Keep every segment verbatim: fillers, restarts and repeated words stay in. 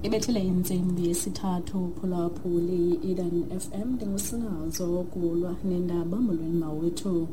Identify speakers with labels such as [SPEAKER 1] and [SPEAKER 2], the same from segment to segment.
[SPEAKER 1] Ibethile intsimbi yesithathu, phulaphuli i-Eden F M. Ndingusinazo kulwa nendaba. Molweni mawethu.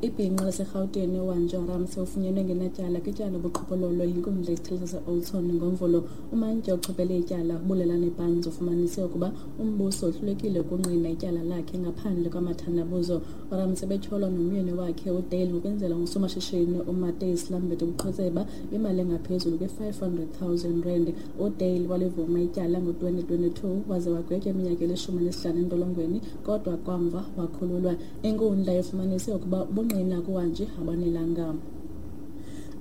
[SPEAKER 1] Ibhinqa laseRhawutini uWanjo Ramsey ufunyenwe ngenatyala kwityala lobuqhophololo yinkundla yesithili sase-Oudtshoorn ngoMvulo. Umantyi ochophele ityala, uBulelani Barnes, ufumanise ukuba umbuso uhlulekile ukungqina ityala lakhe ngaphandle kwamathandabuzo. URamsey betyholwa nomyeni wakhe uDale ngokwenzela ngusomashishini uMatthys Lambert ubuqhetseba bemali engaphezulu kwe-five hundred thousand rand. UDale walivuma ityala ngo-twenty twenty-two waze wagwetywa iminyaka elishumi nesihlanu entolongweni, kodwa kamva wakhululwa. Inkundla ifumanise ukuba ubungqina kuWanji abanelanga.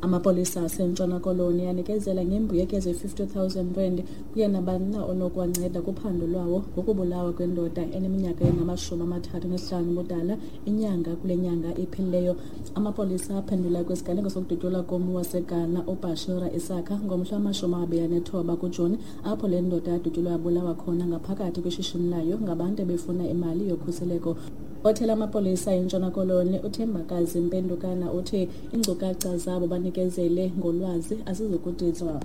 [SPEAKER 1] Amapolisa aseNtshona Koloni anikezela ngembuyekezo ye-fifty thousand rand kuye nabani na onokuwanceda kuphando lwawo ngokubulawa kwendoda eneminyaka engamashumi amathathu nesihlanu ubudala inyanga kule nyanga iphelileyo. Amapolisa aphendula kwisiganeko sokudutyulwa kommi waseGhana uBashira Isaka ngomhla wamashumi amabini anethoba kuJuni, apho le ndoda yadutyulwa yabulawa khona ngaphakathi kwishishini layo ngabantu ebefuna imali yokhuseleko. Othela amapolisa eNtshona Koloni uThembakazi Mpendukana uthi iinkcukacha zabo banikezele ngolwazi azizukudizwa.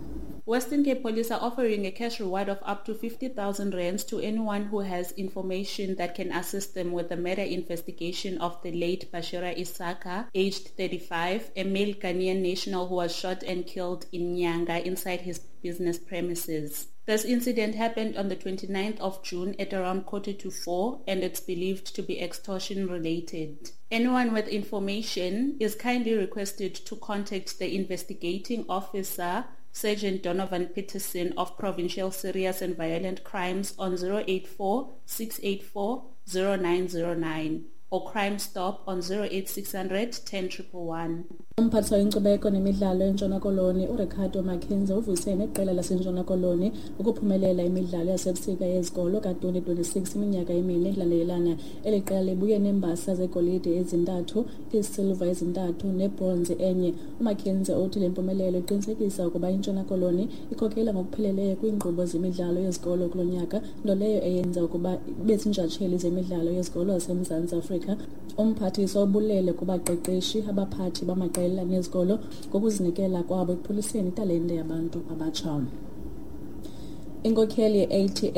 [SPEAKER 2] Western Cape Police are offering a cash reward of up to fifty thousand rands to anyone who has information that can assist them with the murder investigation of the late Bashira Isaka, aged thirty-five, a male Ghanaian national who was shot and killed in Nyanga inside his business premises. This incident happened on the 29th of June at around quarter to four, and it's believed to be extortion related. Anyone with information is kindly requested to contact the investigating officer, Sergeant Donovan Peterson of Provincial Serious and Violent Crimes, on zero eight four six eight four zero nine zero nine or Crime Stop on zero eight six hundred ten one one.
[SPEAKER 1] Umphathiswa wenkcubeko nemidlalo eNtshona Koloni uRicardo Mackenzie uvuyise neqela laseNtshona Koloni ukuphumelela imidlalo yasebusika yezikolo ka-twenty twenty-six iminyaka emine ilandelelana. Eli qela libuye neembasa zegolide ezintathu, iisilva ezintathu nebronze enye. UMackenzie uthi le mpumelelo iqinisekisa ukuba iNtshona Koloni ikhokela ngokupheleleyo kwiinkqubo zemidlalo yezikolo kulo nyaka, nto leyo eyenza ukuba ibe ziintshatsheli zemidlalo yezikolo zaseMzantsi Afrika. Umphathiswa ubulele kubaqeqeshi, abaphathi bamaqela nezikolo ngokuzinikela kwabo ekuphuhliseni italente yabantu abatsha. Inkokheli ye-A T M